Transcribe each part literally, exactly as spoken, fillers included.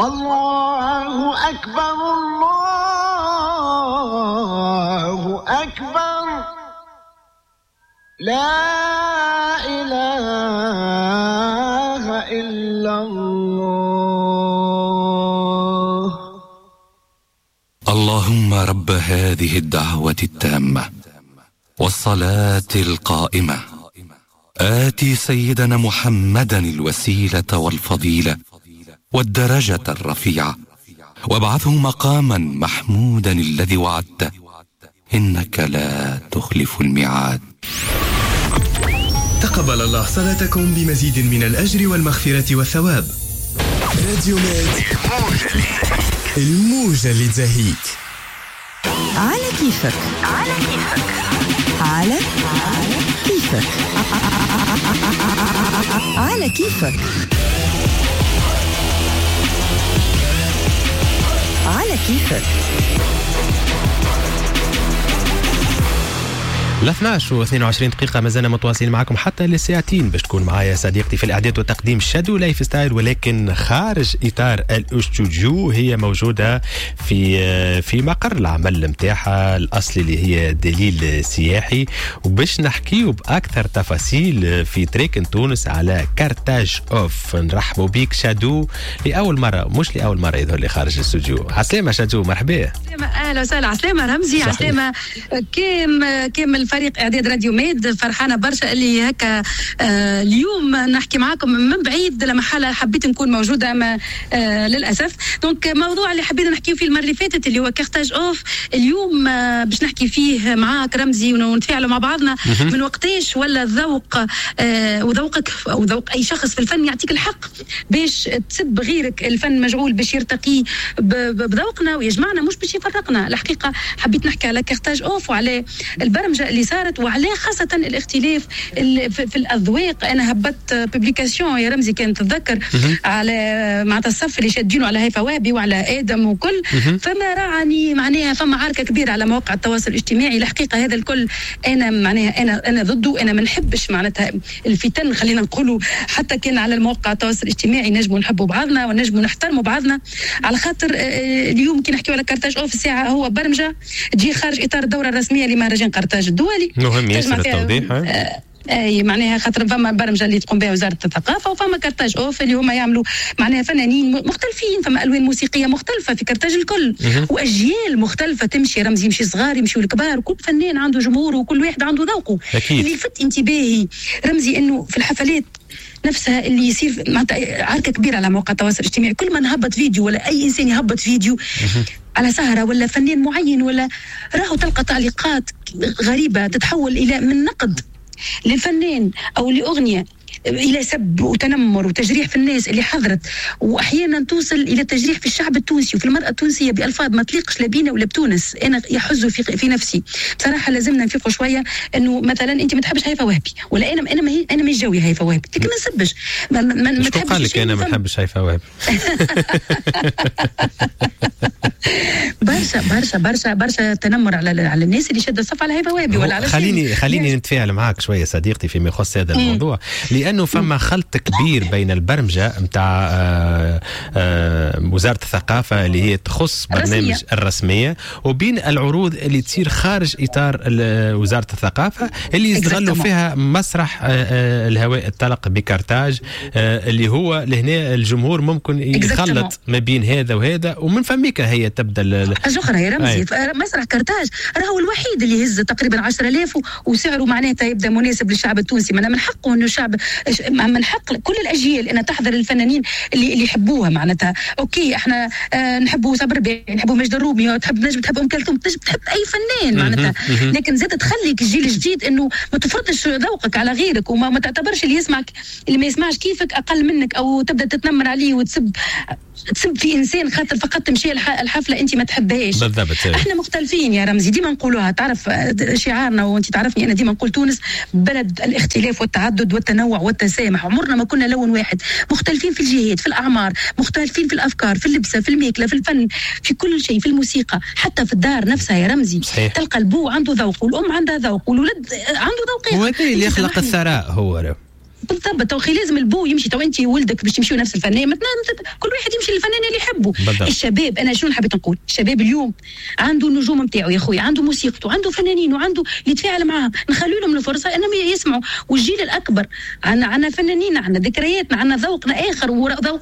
الله أكبر الله أكبر لا إله إلا الله. اللهم رب هذه الدعوة التامة والصلاة القائمة، آتي سيدنا محمدا الوسيلة والفضيلة والدرجة الرفيعة، وابعثه مقاما محمودا الذي وعدته، إنك لا تخلف الميعاد. تقبل الله صلاتكم بمزيد من الأجر والمغفرة والثواب. راديو ميد، الموجة اللي تزهيك. على كيفك، على كيفك، على كيفك، على كيفك، على كيفك. ل اثناش واثنين وعشرين دقيقة ما زلنا متواصلين معكم حتى للساعتين باش تكون معايا صديقتي في الإعداد والتقديم شادو لايف ستايل، ولكن خارج إطار الاستوديو. هي موجودة في في مقر العمل نتاعها الأصلي اللي هي دليل سياحي، وباش نحكيو بأكثر تفاصيل في تريكن تونس على كارتاج أوف. نرحبوا بيك شادو لأول مرة، مش لأول مرة يظهر لي خارج الاستوديو. عسلامة شادو، مرحبا. أهلا وسهلا. عسلامة رمزي، عسلامة كام كامل فريق اعداد راديو ميد. فرحانة برشا اللي هكا آه اليوم نحكي معاكم من بعيد، لما حالة حبيت نكون موجودة ما آه للاسف. donc موضوع اللي حبينا نحكيو فيه المرة اللي فاتت اللي هو كارتاج اوف، اليوم آه باش نحكي فيه معاك رمزي ونتفاعلوا مع بعضنا. من وقتاش ولا الذوق آه وذوقك او ذوق اي شخص في الفن يعطيك الحق باش تسب غيرك؟ الفن مجعول باش يرتقي بذوقنا ويجمعنا، مش باش يفرقنا. الحقيقة حبيت نحكي على كارتاج اوف وعلى البرمجة اللي صارت، وعلى خاصة الاختلاف في الأذواق. أنا هبطت publication يا رمزي كانت تتذكر على معناتها الصف اللي شادينه على هيفا وهبي وعلى آدم وكل، فما رعني معناها فما عركة كبيرة على مواقع التواصل الاجتماعي. الحقيقة هذا الكل أنا معناها أنا أنا ضده، أنا ما نحبش معناتها الفتن، خلينا نقولوا حتى كان على المواقع التواصل الاجتماعي نجموا نحبوا بعضنا ونجموا نحترموا بعضنا. على خاطر اليوم كي نحكيو على كارتاج أوف، الساعة هو برمجة تجي خارج إطار الدورة الرسمية لمهرجان قرطاج الدولي. مهم ياسر التوضيح. اي معناها خاطر فما برمجة اللي تقوم بها وزارة الثقافة، وفما كارتاج اوف اللي هما يعملوا معناها فنانين مختلفين، فما الوان موسيقية مختلفة في كارتاج الكل، واجيال مختلفة تمشي رمزي، يمشي صغار يمشيو الكبار، وكل فنان عنده جمهوره وكل واحد عنده ذوقه. اللي لفت انتباهي رمزي انه في الحفلات نفسها اللي يصير معناتها عركة كبيرة على مواقع التواصل الاجتماعي. كل ما نهبط فيديو ولا اي انسان يهبط فيديو على سهره ولا فنان معين ولا راهو تلقى تعليقات غريبة تتحول الى من نقد للفنان او لاغنية الى سب وتنمر وتجريح في الناس اللي حضرت، واحيانا توصل الى تجريح في الشعب التونسي وفي المراة التونسية بالفاظ ما تليقش لا بينا ولا بتونس. انا يحز في في نفسي بصراحة. لازمنا نفيقوا شوية انه مثلا انت ما تحبش هيفا وهبي، ولا انا انا ما هي انا مش جوي هيفا وهبي، لكن ما نسبش. ما, ما, ما تحبش. قال لك انا ما نحبش هيفا وهبي؟ برشا برشا برشا برشا تنمر على على الناس اللي شاده الصف على هيفا وهبي ولا على. خليني خليني نتفاعل معاك شوية صديقتي فيما يخص هذا الموضوع، لأنه فما خلط كبير بين البرمجة متاع وزارة الثقافة اللي هي تخص برنامج الرسمية، وبين العروض اللي تصير خارج إطار وزارة الثقافة اللي يستغلوا فيها مسرح الهواء الطلق بكارتاج، اللي هو لهنا الجمهور ممكن يخلط ما بين هذا وهذا، ومن فميك هي تبدا حاجة أخرى يا رمزي. مسرح كارتاج راهو الوحيد اللي يهز تقريبا عشرة آلاف وسعره معناتها يبدا مناسب للشعب التونسي. من حقه انه الشعب، من حق كل الاجيال ان تحضر الفنانين اللي اللي يحبوها معناتها. OK احنا آه نحبوا صابر رباعي، نحبوا ماجد الرومي، تحب نجم تحب ام كلثوم، تنجم تحب اي فنان معناتها، لكن زاد تخليك الجيل الجديد انه ما تفرضش ذوقك على غيرك، وما ما تعتبرش اللي يسمعك اللي ما يسمعش كيفك اقل منك، او تبدا تتنمر عليه وتسب تسب في انسان خاطر فقط تمشي الحفلة انت ما تحبهاش. بالضبط. احنا مختلفين يا رمزي، ديما نقولوها، تعرف شعارنا وانت تعرفني انا ديما نقول تونس بلد الاختلاف والتعدد والتنوع والتسامح. عمرنا ما كنا لون واحد، مختلفين في الجهات، في الاعمار، مختلفين في الافكار، في اللبسه، في الماكلة، في الفن، في كل شيء، في الموسيقى، حتى في الدار نفسها يا رمزي. صحيح. تلقى البو عنده ذوق والام عندها ذوق والولد عنده ذوق. وهذا اللي يخلق الثراء هو. بالضبط. تو لازم البو يمشي، تو انت ولدك باش تمشيو نفس الفنان، كل واحد يمشي للفنان اللي يحبه. بالضبط. الشباب انا شنو حبيت نقول، الشباب اليوم عنده النجوم نتاعو يا خويا، عنده موسيقته، عنده فنانين، وعنده يتفاعل معاهم، نخلوا لهم الفرصة انهم يسمعوا. والجيل الاكبر عندنا عندنا فنانين، عندنا ذكرياتنا، عندنا ذوقنا اخر وذوق.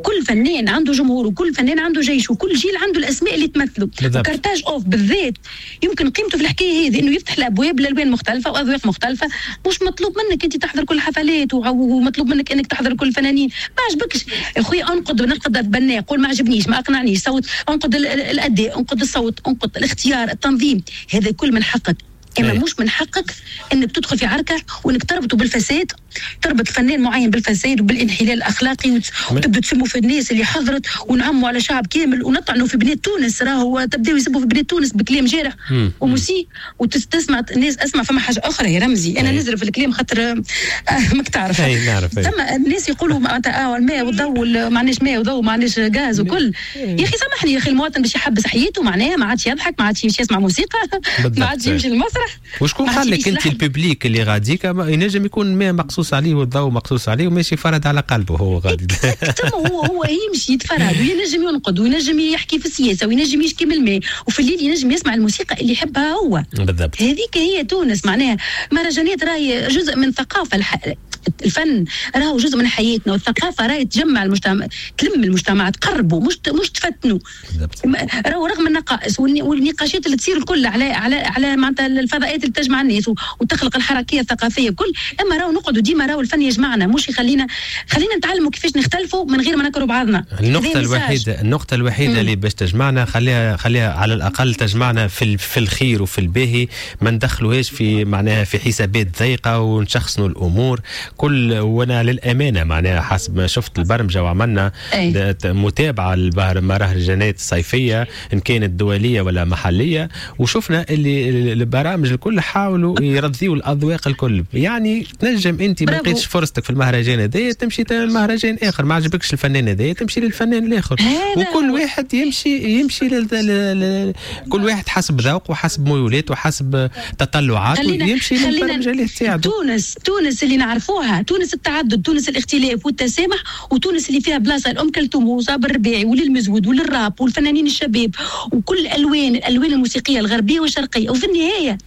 كل فنان عنده جمهور، وكل فنان عنده جيش، وكل جيل عنده الاسماء اللي تمثله. وكارتاج اوف بالذات يمكن قيمته في الحكاية هذه انه يفتح الابواب لالوان مختلفة واذواق مختلفة. مش مطلوب منك انت تحضر كل الحفلات، ومطلوب منك انك تحضر كل الفنانين. ما عجبكش يا خويا انقد، نقد بناء، قول ما عجبنيش، ما اقنعنيش، صوت، انقد الاداء، انقد الصوت، انقد الاختيار، التنظيم، هذا كل من حقك. اما مش من حقك انك تدخل في عركة وانك تربطه بالفساد، تربط فنان معين بالفساد وبالانحلال الاخلاقي، وتبدا تسموا في الناس اللي حضرت، ونعموا على شعب كامل، ونطعنوا في بنات تونس. راهو تبداو يسبوا في بنات تونس بكلام جارح ومسيء، وتسمع الناس. اسمع، فما حاجة اخرى يا رمزي، انا نزرف في الكلام خاطر ماك تعرف. اي نعرف. ثم الناس يقولوا معناتها اه الماء والضوء، ما عندناش ماء وضوء، ما عندناش غاز وكل. يا اخي سامحني يا اخي، المواطن باش يحبس حياته معناها ما عادش يضحك، ما عادش يمشي يسمع موسيقى، ما عادش يمشي للمسرح. وشكون قال لك انت ال public اللي غاديك ينجم يكون ماء مقصوص عليه والضوء مقصوص عليه وماشي فرد على قلبه هو غادي. هو هو يمشي يتفرد، وينجم ينقد، وينجم يحكي في السياسة، وينجم يشكي من الماء، وفي الليل ينجم يسمع الموسيقى اللي يحبها هو. بالضبط. هذيك هي تونس معناها. مهرجانات راهي جزء من ثقافة الح... الفن راهو جزء من حياتنا، والثقافة راهي تجمع المجتمع، تلم المجتمع، تقربه، مش مش تفتنوا. راهو رغم النقائص والنقاشات اللي تصير الكل على على على معناتها الفضاءات اللي تجمع الناس وتخلق الحركية الثقافية كل، اما راهو نقعدوا ديما راهو الفن يجمعنا، مش يخلينا خلينا نتعلموا كيفاش نختلفوا من غير ما نكرهوا بعضنا. النقطة الوحيدة النقطة الوحيدة اللي باش تجمعنا، خليها خليها على الاقل تجمعنا في في الخير وفي الباهي، ما ندخلوهاش في معناها في حسابات ضيقه ونشخصنوا الامور كل. وانا للامانة معناها حسب ما شفت البرمجة وعملنا أي. متابعه للمهرجانات الصيفية ان كانت دولية ولا محليه، وشفنا اللي البرامج الكل حاولوا يرضيوا الاذواق الكل. يعني تنجم انت ما لقيتش فرصتك في المهرجان هذا تمشي لمهرجان اخر، ما عجبكش الفنان هذا تمشي للفنان الاخر، وكل واحد يمشي يمشي لل... كل واحد حسب ذوقه وحسب ميولاته وحسب تطلعاته يمشي للبرمجه اللي تساعده. تونس تونس اللي نعرفوها، تونس التعدد، تونس الاختلاف والتسامح، وتونس اللي فيها بلاصة الام كلثوم وصابر الرباعي وللمزود وللراب والفنانين الشباب وكل الالوان، الالوان الموسيقية الغربية والشرقية. وفي النهاية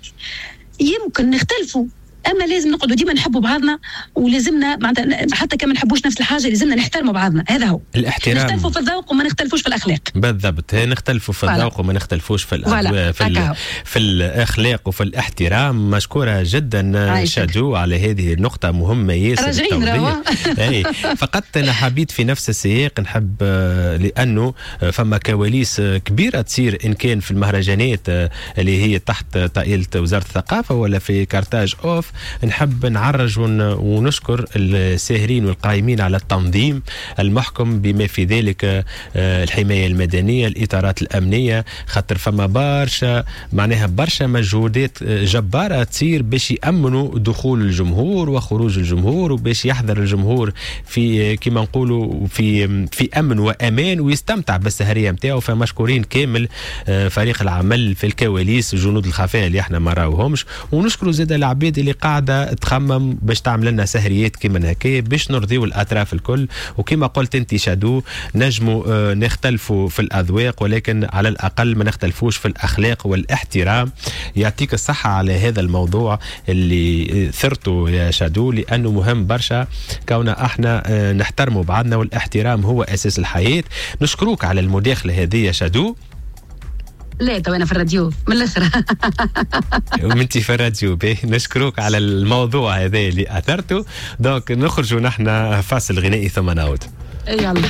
يمكن نختلفوا، اما لازم نقعدوا ديما نحبوا بعضنا، ولازمنا معناتها حتى كما نحبوش نفس الحاجة لازمنا نحترموا بعضنا. هذا هو الاحترام. نختلفوا في الذوق وما نختلفوش في الاخلاق. بالضبط، نختلفوا في الذوق وما نختلفوش في الأدواء، في, ال... في الاخلاق وفي الاحترام. مشكورة جدا شادو على هذه النقطة، مهمة ياسر. راجعين اي فقط انا حبيت في نفس السياق نحب، لانه فما كواليس كبيرة تصير ان كان في المهرجانات اللي هي تحت طائلة وزارة الثقافة ولا في كارتاج اوف، نحب نعرج ونشكر الساهرين والقائمين على التنظيم المحكم بما في ذلك الحماية المدنية، الإطارات الأمنية، خاطر فما برشا معناها برشا مجهودات جبارة تصير باش يأمنوا دخول الجمهور وخروج الجمهور، وباش يحضر الجمهور في كما نقولوا في في أمن وأمان ويستمتع بالسهرية نتاعو. فمشكورين كامل فريق العمل في الكواليس، جنود الخفاء اللي احنا ما راوهمش، ونشكروا زاد العباد اللي قاعدة تخمم باش تعمل لنا سهريات كيما هكا باش نرضيو الاطراف الكل. وكما قلت انت شادو، نجموا نختلفوا في الاذواق ولكن على الاقل ما نختلفوش في الاخلاق والاحترام. يعطيك الصحة على هذا الموضوع اللي ثرته يا شادو، لانه مهم برشا كوننا احنا نحترموا بعضنا، والاحترام هو اساس الحياة. نشكروك على المداخلة هذه يا شادو. لا تو انا في الراديو من الاخر. وانت في الراديو به، نشكروك على الموضوع هذا اللي اثرته. donc نخرجوا نحن فاصل غنائي ثم نعود. يلا.